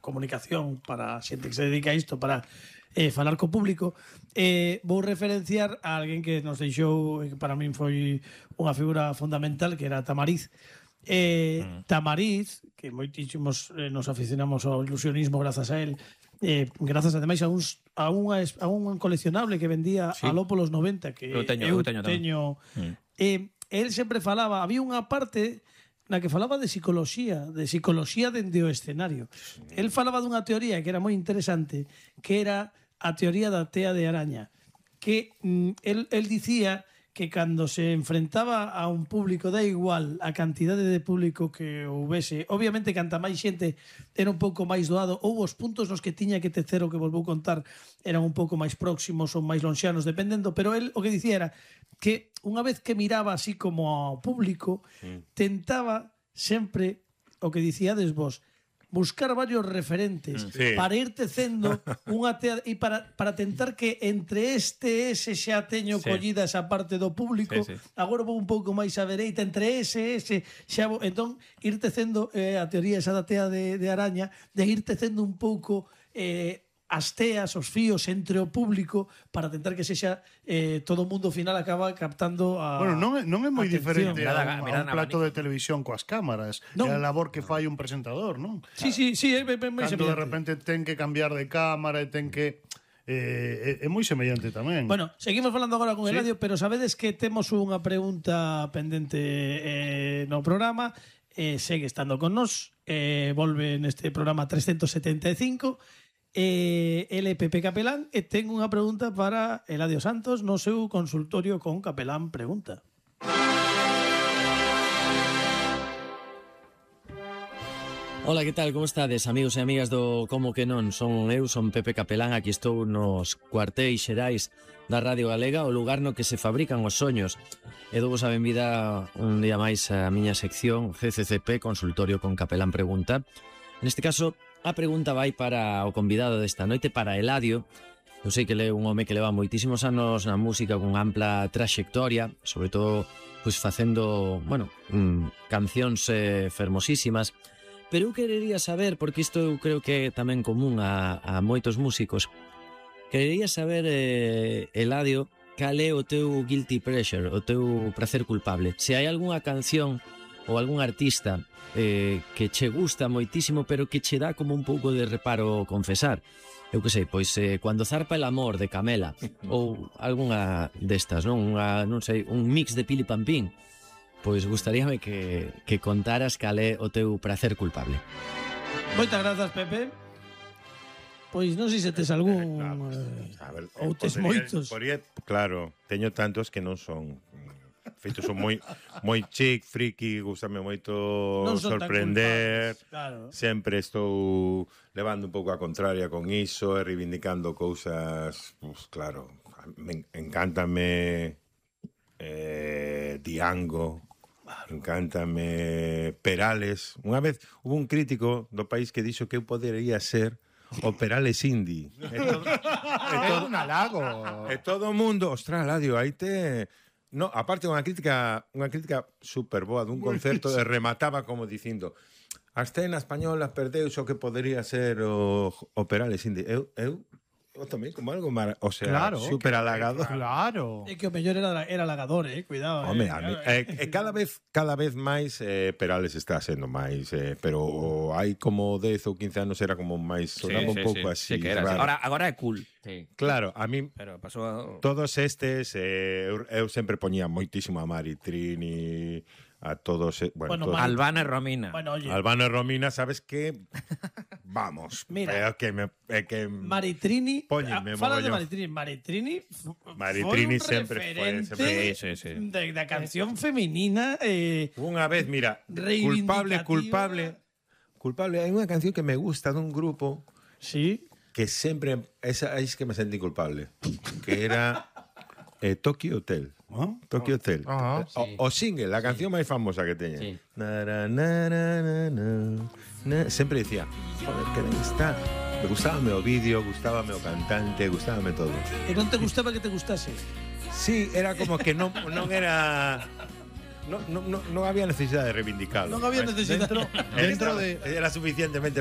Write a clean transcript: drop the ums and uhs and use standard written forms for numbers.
comunicación para a xente que se dedica a isto, para falar co público, vou referenciar a alguén que nos deixou, que para min foi unha figura fundamental, que era Tamariz. Tamariz, que moitísimos nos aficionamos ao ilusionismo grazas a él, grazas ademais a un coleccionable que vendía aló polos 90, que eu teño. El sempre falaba, había unha parte na que falaba de psicología dende o escenario. El falaba dunha teoría que era moi interesante, que era a teoría da tea de araña, que el dicía que cando se enfrentaba a un público, da igual a cantidade de público que houvese, obviamente canta máis xente era un pouco máis doado, ou os puntos nos que tiña que tecer o que vos vou contar eran un pouco máis próximos ou máis lonxanos, dependendo, pero el o que dicía era que unha vez que miraba así como ao público, tentaba sempre, o que dicíades vos, buscar varios referentes para ir tecendo unha tea e para tentar que entre ese xa teño collida esa parte do público, agora vou un pouco máis á dereita, entre ese xa vou, entón ir tecendo a teoría esa da tea de araña, de ir tecendo un pouco as teas, os fíos entre o público para tentar que sexa todo o mundo final acaba captando a... Bueno, non é moi diferente a un plato de televisión coas cámaras. É a labor que fai un presentador, non? Sí, é moi semellante. Cando de repente ten que cambiar de cámara e ten que... é moi semellante tamén. Bueno, seguimos falando agora con Eladio, pero sabedes que temos unha pregunta pendente no programa, segue estando con nós, volve neste programa 375, ele Pepe Capelán, e ten unha pregunta para Eladio Santos no seu consultorio con Capelán Pregunta. Ola, que tal? Como estades, amigos e amigas do Como que non? Son Pepe Capelán, aquí estou nos cuartéis xerais da Radio Galega, o lugar no que se fabrican os soños. E dou-vos a benvida un día máis a miña sección CCCP, Consultorio con Capelán Pregunta. Neste caso, a pregunta vai para o convidado desta noite, para Eladio. Eu sei que é un home que leva moitísimos anos na música con ampla traxectoria, sobre todo pois facendo, cancións fermosísimas. Pero eu querería saber, porque isto eu creo que é tamén común a moitos músicos, querería saber, Eladio, cal é o teu guilty pleasure, o teu prazer culpable. Se hai algunha canción ou algún artista que che gusta moitísimo, pero que che dá como un pouco de reparo confesar. Eu que sei, pois Cuando zarpa el amor, de Camela, ou algunha destas, non? Non sei, un mix de Pili Pampín. Pois gustaríame que contaras cal é o teu prazer culpable. Moitas grazas, Pepe. Pois non sei se tes algún ou tes moitos. Claro, teño tantos que non son feitos, son moi chic, friki, gustame moito sorprender. Claro. Sempre estou levando un pouco a contraria con iso e reivindicando cousas, pues claro, encántame Diango, encántame Perales. Unha vez hubo un crítico do país que dixo que eu podería ser o Perales indie. É un halago. E todo o mundo, ostras, Eladio, aí te... No, aparte unha crítica super boa dun concerto e remataba como dicindo: a escena española perdeu o que podería ser o Perales indie. Eu tamén como algo claro, super halagador. Claro. É que o mellor era halagador, cuidado. Home, cada vez máis Perales está sendo máis, pero hai como 10 ou 15 anos era como máis, sonaba un pouco así. Sí, que era claro. Agora é cool. Sí. Claro, a mí todos estes eu sempre poñía moitísimo a Mari Trini, a todos, todos. Albano e Romina. Bueno, oye. Albano e Romina, sabes que vamos. Mira, que Maritrini, fala de Maritrini. Maritrini sempre foi da canción feminina. Unha vez, mira, culpable. Hai unha canción que me gusta dun grupo. Sí. Que sempre esa es que me sentí culpable, que era Tokyo Hotel. Tokyo Hotel. Sí. O single, la canción máis famosa que teña. Sí. Sempre dicía, joder, que ben está. Me gustábame o vídeo, gustábame o cantante, gustábame todo. E non te gustaba que te gustase? Sí, era como que non era... No había necesidade de reivindicarlo. Non había necesidade. Dentro de... Era suficientemente